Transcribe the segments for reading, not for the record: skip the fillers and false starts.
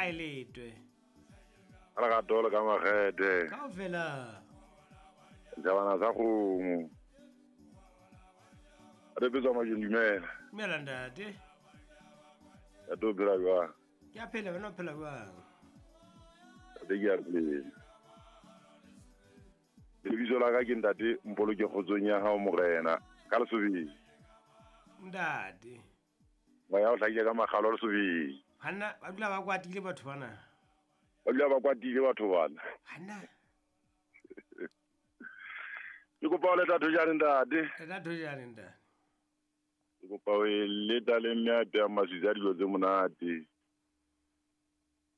A e letwe. Ka lerato le ka makgethe. Kaofela. Setšhabana sa kgomo. Re petswa majong dumela. Dumela ntate. Ntate o phela jwang? Ke a phela wena o phela jwang? Ntate ke a phela. Lebitso la ka ke ntate Mpoloke kgotsong ya hao morena ka Lesobeng. Ntate. Moya o hlakile ka makgalo Lesobeng. Banna ba dula ba kwatile batho bana. Ba dula ba kwatile batho bana. Banna. Ke kopa o leta thojane ntate. Leta thojane ntate. Ke kopa o e leta le mme a peang maswitsi a dilo tse monate.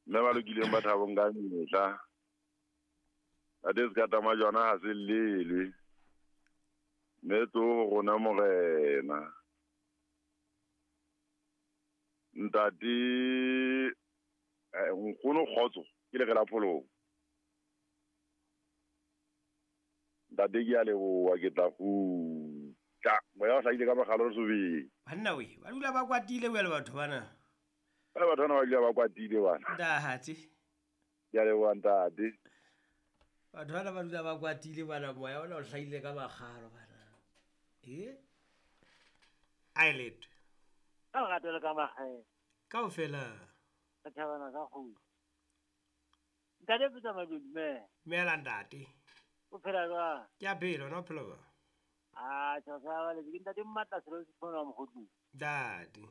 Mme ba lokileng ba thabong ka mehla. Ntate se ka tama jona ha se llelwe. Mme tlo ho rona morena. Ntate nkgono kgotso ke le la pholong. Ntate ke a leboha ke tla kgutla. Moya o hlahile ka makgalo Lesobeng. Banna we, ba dula ba kwatile bjale batho bana. Ba batho bana ba dula ba kwatile bana. Ntate. Ke a leboha ntate. Batho bana ba dula ba kwatile bana moya ona o hlahile ka makgalo bana. E? A e letwe. Ka lerato le ka makgethe. Kaofela. Setšhabana sa kgomo. Ntate Petsa Majong dumela. Dumela ntate. O phela jwang? Ke a phela, wena o phela jwang? A tjho sa ba le ke ntate Mmatla selo se tshwana wa mogotlong. Ntate.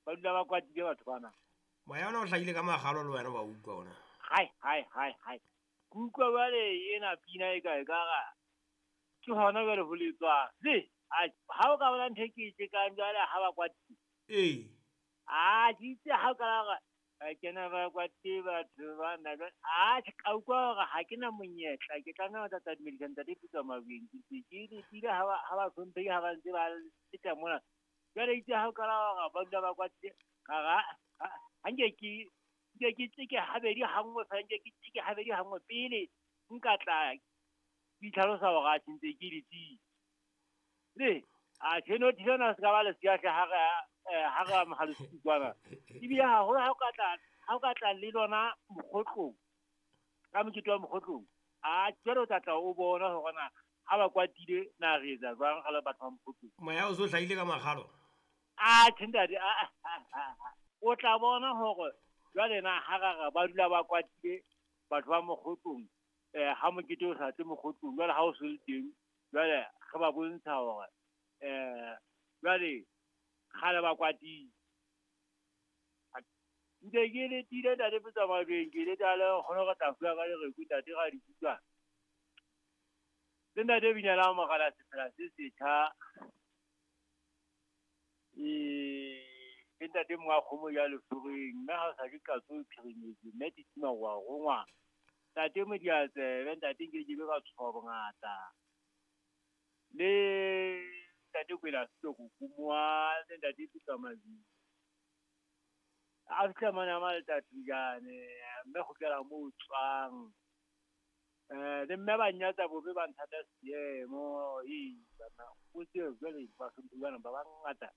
Ba dula ba kwatile batho bana. Moya ona o hlahile ka makgalo le wena wa utlwa ona. Hai hai hai hai. Ke utlwa jwale ena pina e ka e ka ra. Ke hona jwale ho letswa. Se, a ha o ka bona ntho e ke e tjekang jwale ha ba kwatile. Ee. A ke itse ha o ka ra kena ba kwatile batho bana jwale. A ka utlwa hore ha ke na monyetla ke tlameha ho tla dumedisa ntate Pitso Mabeng. Ke ntse ke letile ha ba hlomphehi ha ba ntse ba feta mona. Jwale itse ha o ka ra hore ba dula ba kwatile ka ra ha nke ke nke ke tseke habedi hanngwe fela nke ke tseke habedi hanngwe pele nka tla ke itlhalosa hore a ntse ke letile. Le a tjheno thina se ka ba le seahle ha re ha re amohela sekwana. Ebile haholo ha o ka tla le lona mokgotlong ka mokete wa mokgotlong a jwale o tla tla o bona hore na ha ba kwatile na re etsa jwang ga le batho ba mokgotlong. Moya o so hlahile ka makgalo. A tjhe ntate a o tla bona hore jwale na ha ra ba dula ba kwatile batho ba mokgotlong ha mokete o sa tle mokgotlong jwale ha o se le teng jwale re ba bontsha hore jwale kgale ba kwatile. Ntse ke letile ntate Petsa Mabeng ke leta le kgone go tla fuwa ka lereko ntate ga di kutlwa. Le ntate Binyala Mogala sefela se setjha. Ke ntate mongwe wa kgomo ya leforeng mme ha o sa ke katso o phirimetse mme titima wa rongwa. Ntate Modiatsebe ntate nke ke be ka tshoha bongata. Le ntate Kwela Setoko Kumoa le ntate Petsa Mabeng. A fihla mane a Maletatunyane mme kgutlela moo tswang. Le mme ba nnyatsa bobe ba nthata seemo. Ee bana o tsebe jwale bahlomphehi bana ba bangata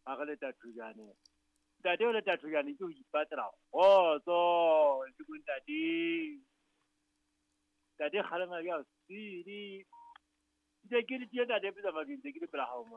ba re Letatujane. Ntate o Letatujane ke ho ipatlela kgotso le bo ntate. Ntate kgalema ya sele. Ntse ke le tje ntate Petsa Mabeng ntse ke le pela hao mona.